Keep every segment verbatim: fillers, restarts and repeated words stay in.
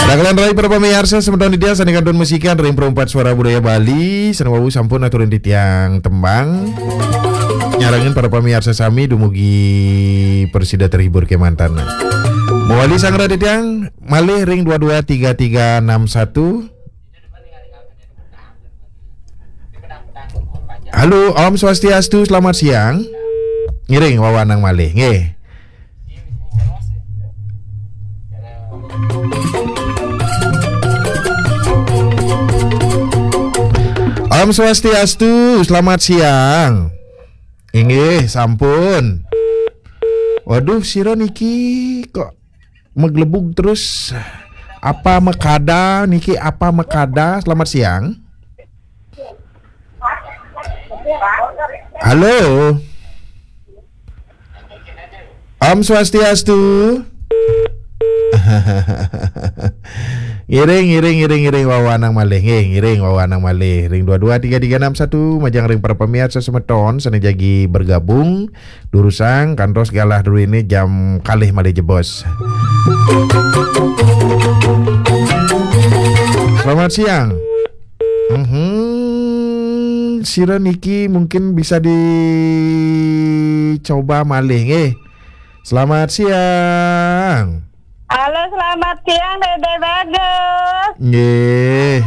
Dagelan rai para pamiarsa, semeton titiang sané kantun masikian ring Perempat Suara Budaya Bali, sané wau sampun aturin titiang tembang. Nyarengin para pamiarsa sami dumugi prasida terhibur kémanten. Mawali sanggra titiang malih ring dua dua tiga tiga enam satu. Halo, Om Swastiastu, selamat siang. Ngiring wawanang malih, nggih. Om Swastiastu, selamat siang. Inggih, sampun. Waduh, sira niki kok maglebug terus. Apa makada niki, apa makada? Selamat siang. Halo. Om Swastiastu. Ngiring, ngiring, ngiring, ngiring wawanang malih, nggih, ngiring wawanang malih. Ring dua dua tiga tiga enam satu, majeng ring para pamiarsa semeton sané jagi bergabung, durusang kantos galah druéné jam kalih malih jebos. Selamat siang. Mhm, sira niki mungkin bisa dicoba malih, nggih. Selamat siang. Halo, selamat siang, Dédé Bagus. Nggih.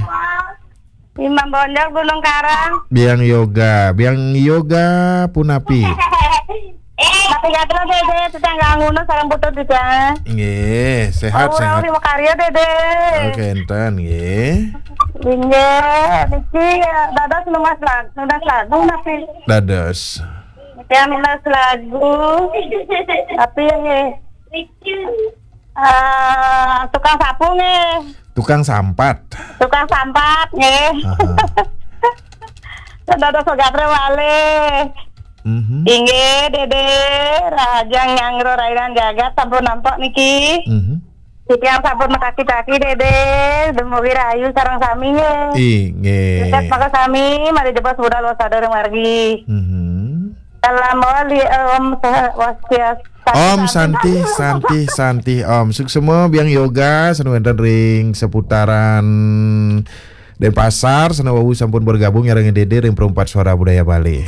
Imam Bonjol, Gunung Karang. Biang Yoga, Biang Yoga punapi? Eh, tapi kata Dédé, tetangga ngunu sareng putut di sana. Nggih, sehat, sehat. Uri makarya, Dédé. Oke, enten, nggih. Inggih, niki ya, dados nunas lagu, nunas lagu napi? Dados. Niki nunas lagu. Tapi nggih. Eh, tukang sapu nggih. Tukang sampat. Tukang sampat nggih. Aha. Dados gatra malih. Mhm. Inggih, Dédé, rahajeng nyanggra rainan jagat sampun nampek niki. Mhm. Titiang sampun makaki-kaki, Dédé, dumugi rahayu sareng sami nggih. Inggih. Sukses maka sami, mari jebos budal wasada ring margi. Mhm. Salam wali, Om Swastiastu. Om Santi, Santi, Santi, Om. Suksma Biang Yoga sané wénten ring seputaran Denpasar, sané wau sampun bergabung nyarengin Dédé ring Perempat Suara Budaya Bali.